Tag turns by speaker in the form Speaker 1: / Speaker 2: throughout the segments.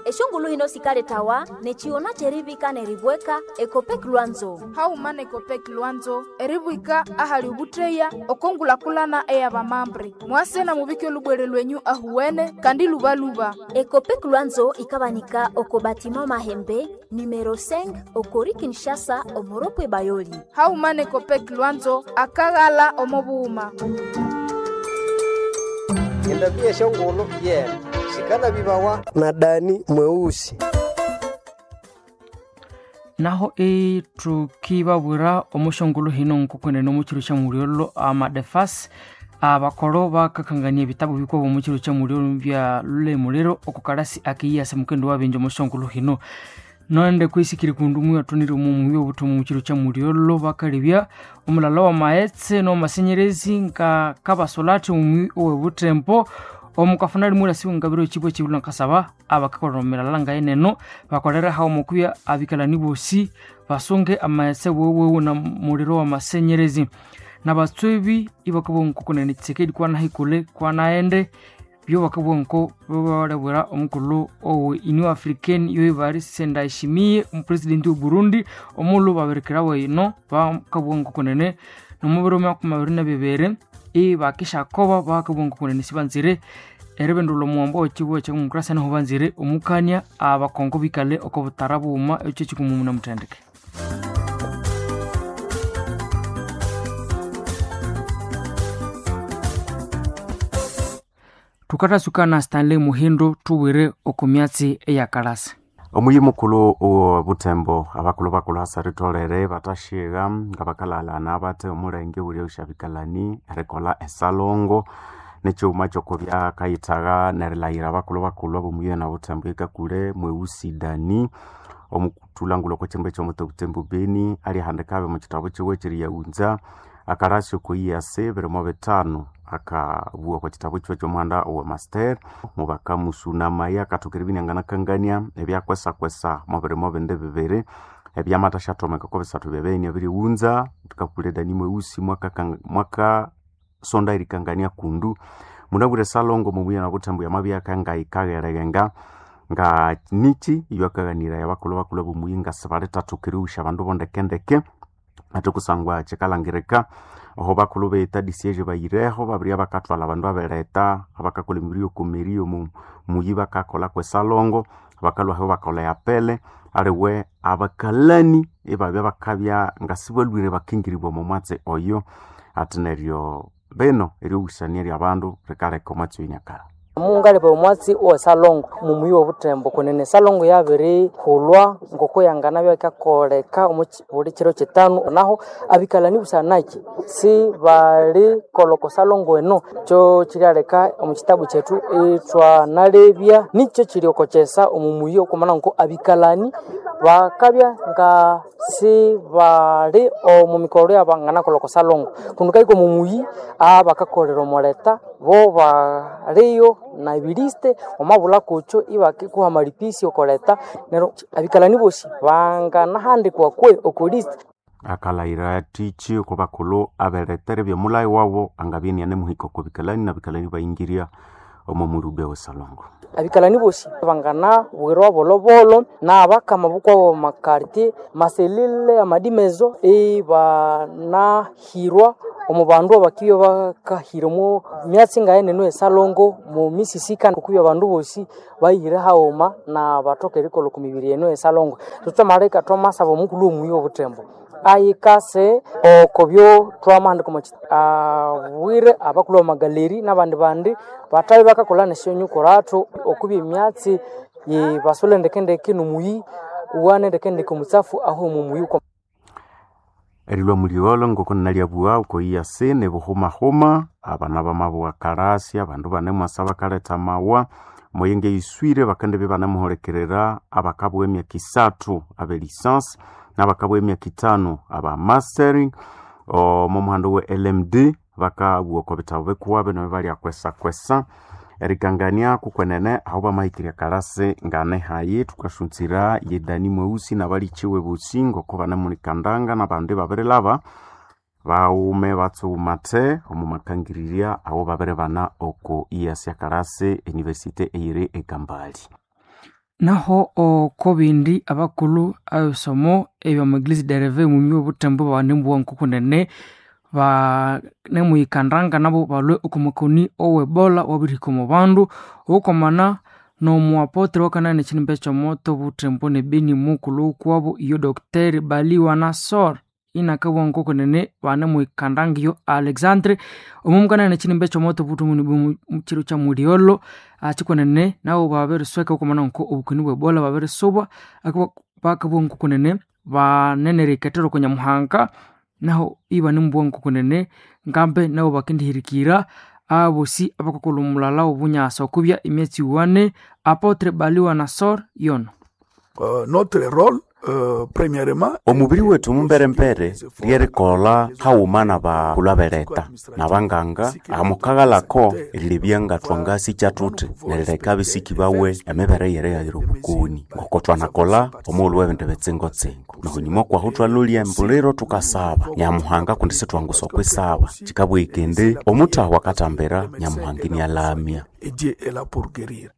Speaker 1: Eshongulu hino sikaletawa nechiona cherivika neribweka Ekopek Lwanzo.
Speaker 2: Hauma nekopek Lwanzo eribwika ahali ubutreya okongulakulana eyabamambre. Mwase na mubike olubwere lwenyu ahuwene kandi lubaluba.
Speaker 1: Ekopek Lwanzo ikabanika oko batima Mahembe numero 5 okori Kinshasa omoropwe Bayoli.
Speaker 2: Hauma nekopek Lwanzo akaghala omobuhuma.
Speaker 3: Endabia shongolo yena sikala bibawa na Dani mweusi.
Speaker 4: Naho itukibabwira omushongolo hino nkokwene omuchiro kya mulyolo amadefas abakolo bakakangania ebitabu bikwabo omuchiro kya mulyolo bya lulemuliro okukalasi akiyasa mukendo wabenje omushongolo hino nonde kwisikiri kundu muyathonire omu obutomu omuchiro kya mulyolo bakalebya omulala wa maghetse n'omasenyerezi nga kabasolati omumi owebutempo omukafuna limwe lasiwe ngabiro ekibwa ekibula nkasaba abakakolera omumilala ngayeneno bakolere hawo okuya abikalani bosi basunge amaghetse wewewe na muliro wa masenyerezi nabatswebi ibakabugha nkokunene Tshisekedi kwanahikule kwanaghende byo bakabugha nko babalabwira omukulhu owe Union Africaine yoibali Ndayishimiye omupresidenti we Burundi omulhu babirikirawo ino bakabugha nkokunene nomubiro 2022 ibakishakoba bakabugha nkokunene sibanzire eribindulha omuwambo wekibugha ekya demokrasia niho banzire omukania abakongo bikale oko butara bughuma ekyo ekikumumu namuthendeke. Thukathasuka na Stanley Muhindo thubwire oko myatsi eyakalasa.
Speaker 5: Omuyi mukulhu owo butembo abakulhu bakulhu hasaritholere bathashigha nga bakalalana bathe omulenge owuli osyabikalani erikolha esalongo nekyuma kyokubya kayithagha nerilhaghira abakulhu bakulhu abomuyi na butembo ekakule mweusi Dani omuthulangulhu okwa kyimba ekyomuti obutembo Beni alyahandikabe omu kithabu kyiwe ekyeriyaghunza akarasi oko EAC 2005 akabugha okwa kithabu kyiwe ekyomuhanda owa master mubakamusunamaya akathoka eribya inianganakangania ebyakwesakwesa mubirimo bindi bibiri ebyamathasyathomeka oko bisathu byabeni abirighunza thukakule Dani mweusi mwakasonda erikangania kundu munabwire salongo mumuya na butembo yamabya kangayikaghereghenga nga niki iyakaghaniraya abakulhu bakulhu abomuyi nga sibalithathoka erighusya abandu bondekendeke ate kusangwa kyikalhangirika aho bakulhu betha disiege bayireho babirya bakathwalha abandu abereta abakakolha emibiri yokomeri omu muyi bakakolha kwesalongo bakalhwaho bakolha yapele aliwe abakalani ibabya bakabya ngasibalhwire bakingiribwa omo mwatsi oyo ati neryo bino eryoghusania lyabandu likaleka omwatsi oyo iniakalha.
Speaker 6: Mungaleba omwatsi owesalongo mumuyi wobutembo kunene esalongo yabirihulwa ngoko yanganabya ikakoleka omu buli kiro kitanu naho abikalani busanaki sibalikolha oko salongo eno kyo kiryaleka omu kitabu kyethu ithwanalebya nikyo kiri oko kyesa omu muyi okumana nko abikalani bakabya nga sibali omu mikolho yabanganakolha oko salongo kundi kahika omu muyi abakakolera omuleta bo baliyo na ebiliste wamabulha kukyo ibakikuha amalipisi okoleta neryo abikalani bosi banganahandikwa kwe oko list.
Speaker 5: Akalhayira athiki oko bakulhu aberetera ebyomulhayi wabo angabya inianemuhika oko bikalani nabikalani ibayingirya omo mulhube wesalongo.
Speaker 6: Abikalani bosi banganabwirwa bolhobolo nabakama bukwabo makartie maselile amadimezo ibanahirwa omu bandu abakibya bakahira omu myatsi ngayeneno esalongo mu misisika okubya abandu bosi bayihire haghuma na bathoka erikolha oko mibiri eno esalongo. Thuthamaleka thwamasaba omukulhu womuyi wobutembo ayikase oko byo twamahandika omu abwire abakulhu bamagaleri nabandi bandi bathabya bakakolha nesyonyukurathu okubya emyatsi yibasule ndekendeke nomuyi wane ndekendeke omutsafu ahu omu muyi.
Speaker 5: Erilhwa muligholo ngoko nalyabuwa oko EAC nibuhumahuma abana bamabugha kalasi abandu banemwasa bakaletha amawa omuyinga eyiswire bakendibya ibanemuhulikirira abakabugha emyaka isathu abe license nabakabugha emyaka ithanu aba mastering omo muhando we LMD bakabugha oko bithabu bikuwabe nibyo erikangania kukwenene aho bamahikirya kalasi nganehayi thukasunzira ye Dani mweusi nabalikiwe bosi ngoko banemulikandanga nabandi babirilhaba bawume batsughuma the omu makangirirya aho babiribana oko EAC kalasi university eyiri e Kambali.
Speaker 4: Naho oko bindi abakulhu abebisomo ebyama eglise de reveil omumyi obuthembo banembuwa nkokunene banemuyikandanga nabo balhwe oko makoni owe ebola owabirihika omo bandu obukwamana nomuapotre wakanaya nekinimba ekyomoto obuthembo nebeni mukulhu wukwabo iyo Dr Baliwa Nassor inakabugha nkokunene banemuyikandanga iyo Alexandre omo mukanaya nekinimba ekyomoto obuthembo nebeni mukiro kya mulyolho kyikunene nabo babirisweka obukwamana nko obukoni bwe ebola babirisuba bakabugha nkokunene banene eriyikethera oko Nyamuhanga naho ibanemubugha nkokunene ngambe nabo bakendihirikira abosi abakakolha omulala wobunyasa okubya emyatsi iwane Apotre Baliwa Nassor yono.
Speaker 7: Notre rôle premièrement
Speaker 5: Omubiri wetu mumberembere lyerikolha haghuma nabakulhu abeleta nabanganga amukaghalako erilebya nga thwangasikya thuthi nerileka abisiki bawe emibere yerighayira obukoni ngoko thwanakolha omughulhu webindu bitsingo-tsingo nohunyuma okwahu thwalolya embuliro thukasaba Nyamuhanga kundi sithwangusa okwisaba kikabugha indi omuthahu akathambira Nyamuhanga inialamya.
Speaker 7: Et Dieu est là pour guérir.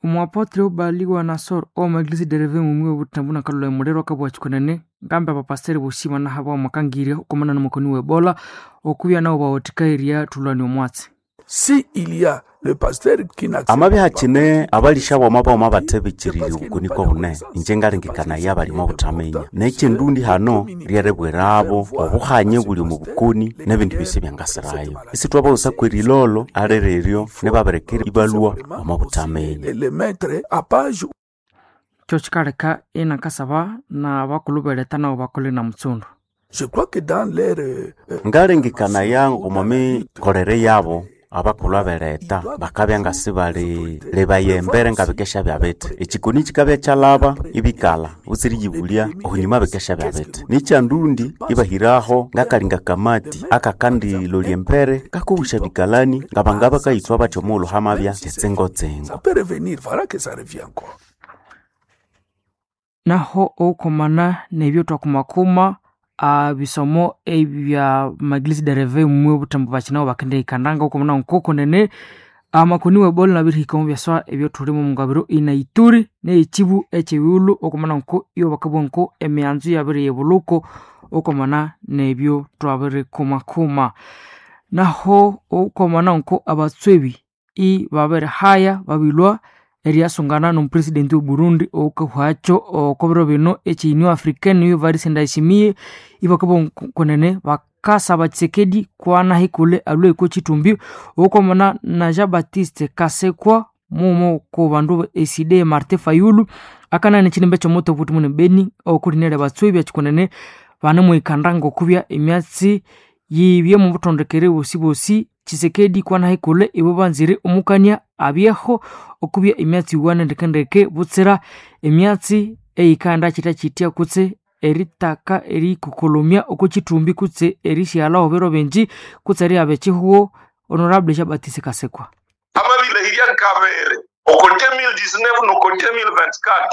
Speaker 4: Omuapotre Baliwa Nassor owama eglise de reveil mumwi obuthembo nakalolha emuliro akabugha kyikunene ngambi abapasiteri bosi banahabwa amakangirya okwamana nomukoni we ebola okubya nabo bawathikairya thulhania omwatsi.
Speaker 7: Si il y a le pasteur qui n'accepte
Speaker 5: Amabya
Speaker 7: pas
Speaker 5: hakine abalisha boma boma bathebikirire obukoniko bunene inje ngalengekanaya bali omo buthaminya nekyindundi hano lyeribwirabo obuhanye buli omu bukoni nebindi byosi ebyangasirayo isithwabaghusa kwerilolo aliriryo nibabirekera ibalhwa omo buthaminya.
Speaker 7: Le mettre à page.
Speaker 4: Kyo kyikaleka inakasaba nabakulhu beleta nabo bakole na mutsundu.
Speaker 7: Je crois que dans leur
Speaker 5: Ngalengekanaya omo mikolere yabo abakulhu abeleta bakabya ngasibali lebaya embere ngabikesha byabithi ekikoni kikabya kyalaba ibikalha butsiriyibulya ohunyuma bikesha byabithi nikyandundi ibahiraho ngakalinga kamati akakandilolya embere kakobusha bikalani ngabanga bakayithwa bathi omughulhu hamabya kyitsingo-tsingo.
Speaker 7: Ça peut revenir, voilà que ça revient encore.
Speaker 4: Naho obukwamana nebyo thwakumakuma bisomo ebya maglise de reveil mumwi obuthembo bakinabo bakendihikandanga okwamana nkokunene amakoni we ebola nabirihika omu byaswa ebyathulimo omungabiro ina Ituri neyekibu ekyebighulhu okwamana nko iyo bakabugha nko emianzu yabiriyibulhuko okwamana nebyo thwabirikumakuma. Naho okwamana nko abatswebi ibabirihaya babilhwa eriyasungana nomupresidenti we Burundi owukahwakyo oko biro bino ekye Union Africaine niyo Evariste Ndayishimiye ibakabugha kunene bakasaba Tshisekedi kwanahikule alhwe oko kyithumbi okwamana na Jean Baptiste Kasekwa mughuma oko bandu ECD Martin Fayulu akanaya nekinimba ekyomoto obuthi mune Beni okulinira abatswebi ekyikunene banemuhikanda ngokubya emyatsi yibye omubuthondekere bosibosi Tshisekedi kwanahikule ibo banzire omukania abyeho okubya emyatsi iwana ndekendeke butsira emyatsi eyikanda kyitya kutse eritaka erikokolomya oko kyithumbi kutse erisyalhaho biro bingi kutse erihaba ekyihugho Honorable Jean Baptiste Kasekwa.
Speaker 8: Amabilehirya nkabere oko 2019 noko 2024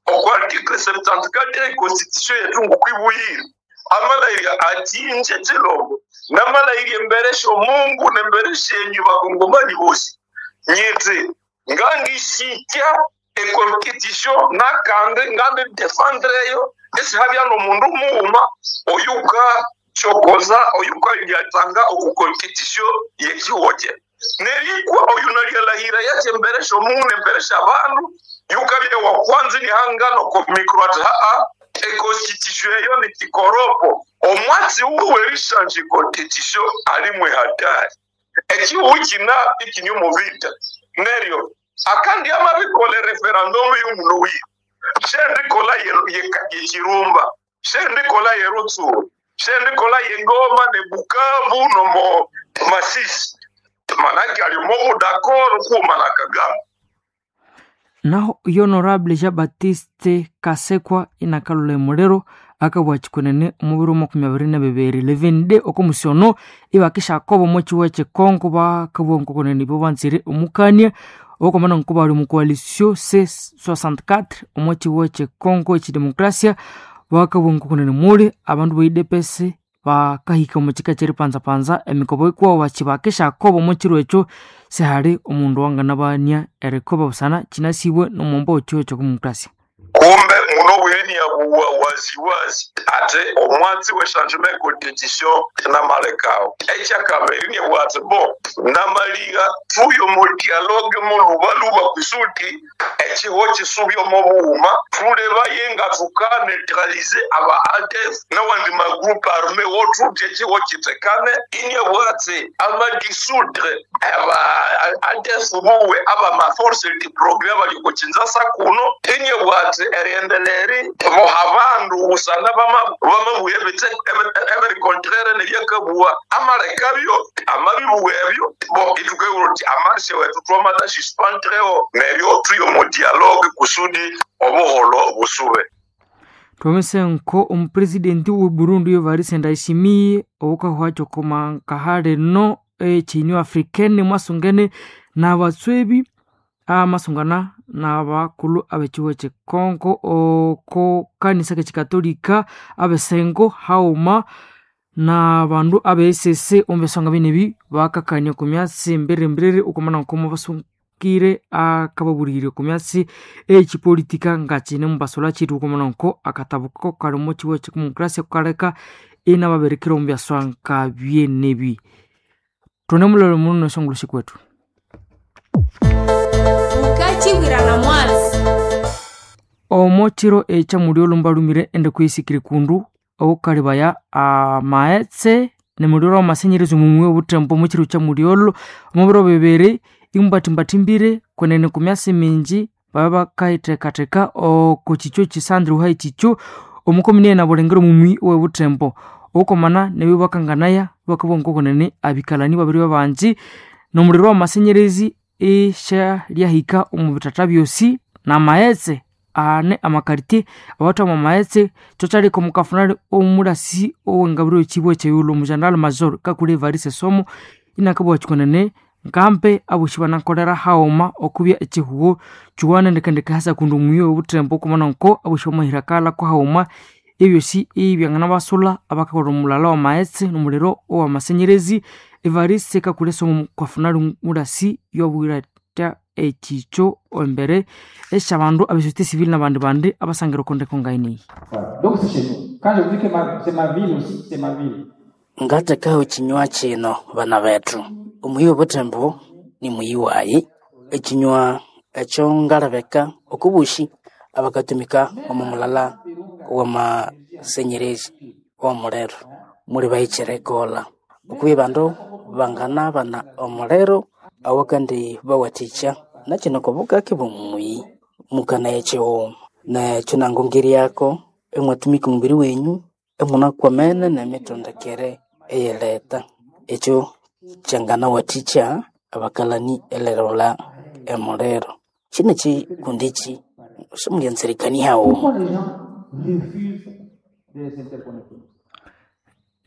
Speaker 8: oko article 74 ye constitution yetu ngukwibuyire amalayirya atinje chilombo namalayirya embere sho Mungu nembere shenyu bakongomani bosi nyiti ngangishitya econstitution nakandi ngandi defendreyo esihabya nomundu mughuma oyuka chokoza oyuka lyatanga oku constitution yekiwoje nerikwa oyu nalyalahira yache mbere sho Mungu nembere sha bandu yukabya wa kwanza nihangano ko micro ati haa econstitution eyo ni kikoropo omwatsi uwe werishanje constitution alimwe hatari ekihu kina ikinyumu vita neryo akandi amabikole referendum y'omuno wiwe shendikola yekirumba shendikola yerutsuru shendikola yengoma ne Bukavu nomo Masisi manake alimo budakoro kuma na Kagame.
Speaker 4: Naho Honorable Jean Baptiste Kasekwa inakalula emuliro akabugha kyikunene omubiro 22 11 oko musiono ibakishakoba omo kihugo ekye Congo bakabugha nkokunene ibo banzire omukania okwamana nko bali omu coalition C64 omo kihugo ekye Congo ekyidemokrasia bakabugha nkokunene muli abandu ba UDPS Bakahika omu kika ky'eripanzapanza emikobo ikuwawu bakibakishakoba omu kiro ekyo sihali omundu wanganabania erikoba busana kinasibwe n'omwombo w'ekiho ky'okumukurasia.
Speaker 8: Kumbe muno bwireni yabuwa waziwazi ate omwatsi we changement constitution namalekawo ekyakabiri nibwati bo namaliga tuyo mu dialogue mulubaluba kusuti ekiho kisubya omu bughuma tulebaye nga tukaneutralize aba ADF nawandi magroupe arme wothuthi ekiho kitekane inebwati amadisudre aba ADF buwe aba maforce de progrès bali kukinzasa kuno inebwati eriendeleri boha bandu busana bamabuya ebiri contraire nebyakabuwa amalekabyo amabibuwa ebyo bo itukeura uti amarshe wetu twamata suspendreo neryo tuyo mu dialogue kusudi obuholo busube.
Speaker 4: Twamese nko omupresidenti we Burundi Evariste Ndayishimiye owukahwacho komankahale ekyinyu africaine mwasungene n'abatswebi amasungana n'abakulu ab'ekihugo ky'ekongo oko kanisa k'ekikatolika abesengo hauma n'abandu abe ECC omu byasonga binebi bakakania oku myatsi mbiriri okumana nkomo basungire akababulirye oku myatsi ekipolitika nga kine mubasola kithi okumana nko akatabuko kali omu kihugo ky'edemocracia kukaleka inababirikira omu byaswanga byenebi. Tune mulolo muno neshongolo shikwethu.
Speaker 9: Ukachibwirana mwatsi.
Speaker 4: Omo kiro ekyamuli olumba lumire ende kuisikire kundu oukalibaya amaghetse nemuliro w'amasenyerezi omumwi obuthembo omu kiro kyamuli olho omu biro bibiri imbathimbathimbire kwenene ku myasi mingi baba bakayithekatheka oko kikyo kisandire wuhayi kikyo omukomini ena bulengera omumwi owebuthembo okomana nebyo bakanganaya bakabugha ngokwenene abikalani babiri babangi nomuliro w'amasenyerezi isyalyahika omu bithatha byosi n'amaghetse ane amakartie abathwama amaghetse kyokyaleka omukafunali omulasi owengabiro y'ekibuga ekyeyulo omugeneral major Kakule Evariste Somo inakabugha kyikonene ngambe abosi banakolera haghuma okubya ekihugo kiwana ndekendeke hasa kundi omuyi obuthembo okumana nko abosi bamahira kalako haghuma ebyosi ibyanganabasula abakakolha omulala w'amaghetse n'omuliro ow'amasenyerezi. Evariste Kakule Somo mukafunali mulasi yobwira ekikyo embere esyabandu abe société civile n'abandi bandi abasangira oko ndeko ngayineyi.
Speaker 10: Donc c'est chez nous. Quand je vous dis que c'est ma ville aussi, c'est ma ville.
Speaker 11: Ngathekaho ekinywa kino bana bethu. Omuyi obuthembo ni muyi wayi. Ekinywa ekyo ngalebeka okubushi abakatumika omu mulala w'amasenyerezi ow'omuliro muli bahikire ekolha. Okubya abandu banganabana omuliro awakandi bawathikya nakino kobukake bw'omuyi mukanaya ekighuma nekyo nangongeryako imwatumika omubiri wenyu imunakwamene nemitondekere eyileta ekyo kyanganawathikya abakalani erilholha emuliro. Kino ekikundi eki simulyanzirikania haghuma.
Speaker 10: Pourquoi les gens refusent de s'interconnecter?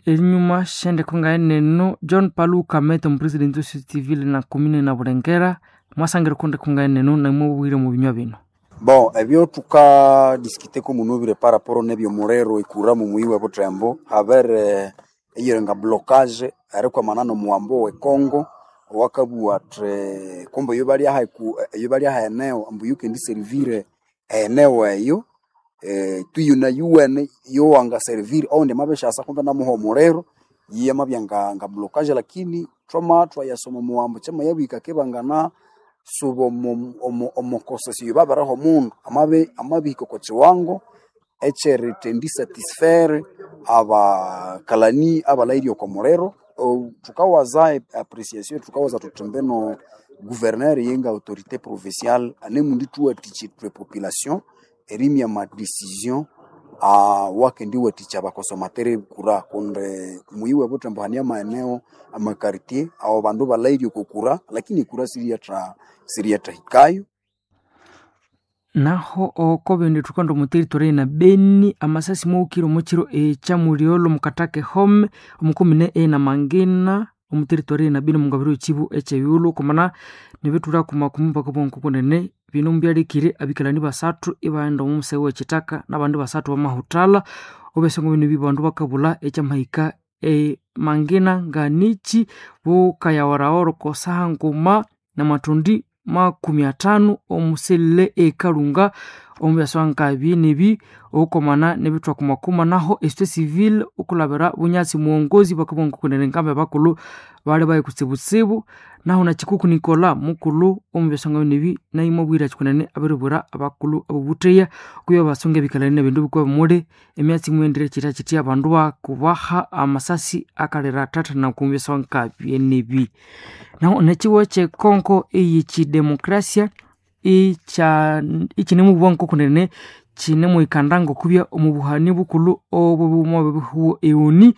Speaker 4: Enyuma syendeko ngayeneno John Paluka Mete omupresidenti we société civile na komine na Bulengera mwasangira oko ndeko ngayeneno namwe omu binywa bino.
Speaker 12: Bon, ebyo tukadiskiteko munubire par rapport nebyomuliro ekura mumuyi we Butembo habere eyirenga blocage erikwamana nomuwambo we Congo owakabugha athi kumbe eyo bali aha eneo ambu yukendiservire eneo eyo tuyuna yuwene yowangaservire oundi amabishasa kumbe namuha omuliro yiye amabya nga blocage lakini twama twayasoma omuwambo kyamayabwika kibangana suba omukosesyo babiriha omundu amabihika oko kiwango ekyeritendi satisfaire abakalani abalahirye oko muliro. Thukawaza appreciation thukawaza thuthi mbino gouverneur yenga autorité provinciale anemundi thuwathikya ithwe population erimya ama decision wakendiwathikya abakonsomateur ekura kundi muyi we Butembo hane amaeneo amakartie aho bandu balahirye oko kura lakini ekura siriyathahikayo.
Speaker 4: Naho oko bindi thukanda omu territory na Beni amasasi mwaghukire omu kiro ekyamulyolho mukatake home omukomine ena Mangina omu territory na Beni omungabiro y'ekibu ekyeyulo okumana nibithulha kumakumi bakabugha ngokunene bino mubyalekire abikalani basathu ibaghenda omu museghe w'ekyithaka n'abandi basathu bamahuthalha obesonga bino ebi bandu bakabulha ekyamahika. Mangina Nganichi bukayaworawora kosaha nguma na matondi 50 omuselele ekalunga omubyaswa nkabi okomana nebithwakumakuma naho esite civil okulabira bunyasi muongozi bakabongokunene nkambe bakulu bali bayi kutsibutsibu naho na Chikuku Nikola mukulu omubyaswa nkabi naimwabwira chikunene abiribwira abakulu abobutheya kuya basunga ebikalani nebindu bikuba bimuli emyatsi imwendire chitya chitya abandu bakubaha amasasi akalira thathana kumbyaswa nkabi naho nechiwo kyekonko eyekidemokrasia ichinemubwa nkokunene chinemuikanda ngokubya omubuhani bukulhu obwo bwebihuo eoni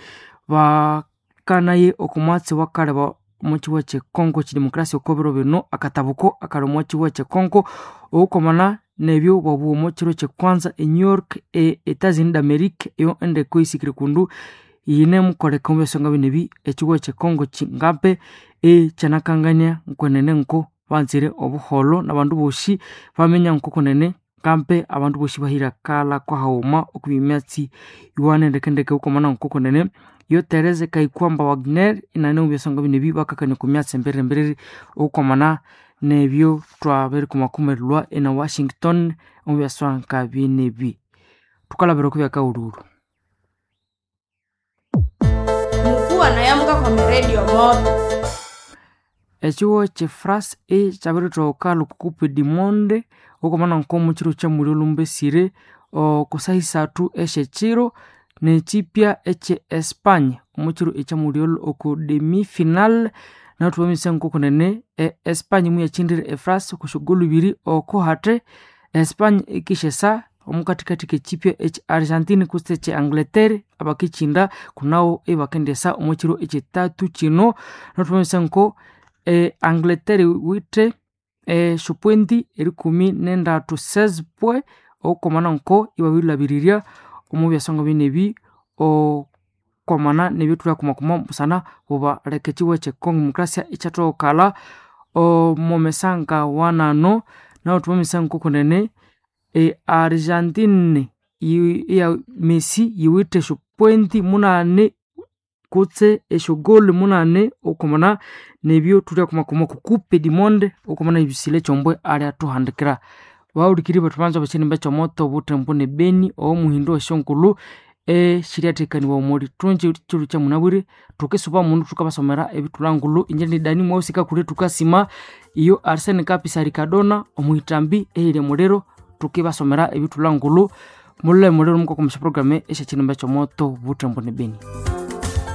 Speaker 4: bakanaye okumwatsi wakaleba omuchiwo kyekonko kidemokrasia okobiro bino akatabuko akali omuchiwo kyekonko oukomana nebyo bwabuwa omukiro kyekwanza e New York e Estados d'America eyo endeko isikire kundu yinemukoleka omubyasonga binebi echiwo kyekongo kingampe ekyanakangania nkwenene nko banzire obuholo nabandu bosi baminya nkokunene ngampe abandu bosi bahira kala kwahaghuma okubya emyatsi yuwane ndekendeke ukomana nkokunene yo Therese Kayikwamba Wagner inane omubyasonga binebi bakakania oku myatsi emberere okwamana nebyo twabirikumakumirilwa ena Washington omubyaswa nkabinebi thukalabira okubya kaghulhulhu.
Speaker 9: Mukuwa nayamuka kwa miredio moto.
Speaker 4: Ekiwo kyefrance ekyabirithoka lukukupe dimonde okwamana nkomukyiro kyamulyo lumbesire okusaha isathu esyekyiro nekyipya ekye Espanya omukyiro ekyamulyo oku demi-final nathubamisa nkokunene Espanya muyakyindire efrance okwasyogolu ibiri oko hathi Espanya ikisyesa omukathikathi kekyipya ekye Argentina kutse ekye Angleterre abakikyinda kunawo ibakendyesa omukyiro ekyithathu kyino nathubamisa nko Angleterre iwithe esyopoindi erikumi nendatu 16 points okwamana nko ibabirilhabirirya omubyasonga binebi okwamana nebyethulyakumakuma busana bubaleka ekiwo ekye Congo Democracia ikyathokalha omumesanga wanano nahu thubamisa nkokunene Argentine iya Messi yiwithe esyopointi munani kutse esyogoli munani okwamana nebyo thulyakumakuma oku coupe du monde okwamana ebisile ekyombwe alyathuhandikira. Bahulikiriri bethu banza bekyinimba ekyomoto obuthembo ne Beni owomuhindo wesyongulhu esyiryathekaniwa omulithunji kyiro kyamunabwire thukisuba mundu thukabasomera ebithulangulhu inje ni Dani Mweusi kakule thukasima iyo Arsene Kapisa Ricardona omuhitambi ehilya muliro thukibasomera ebithulangulhu mulule muliro mukakomesya program esyakyinimba ekyomoto obuthembo ne Beni.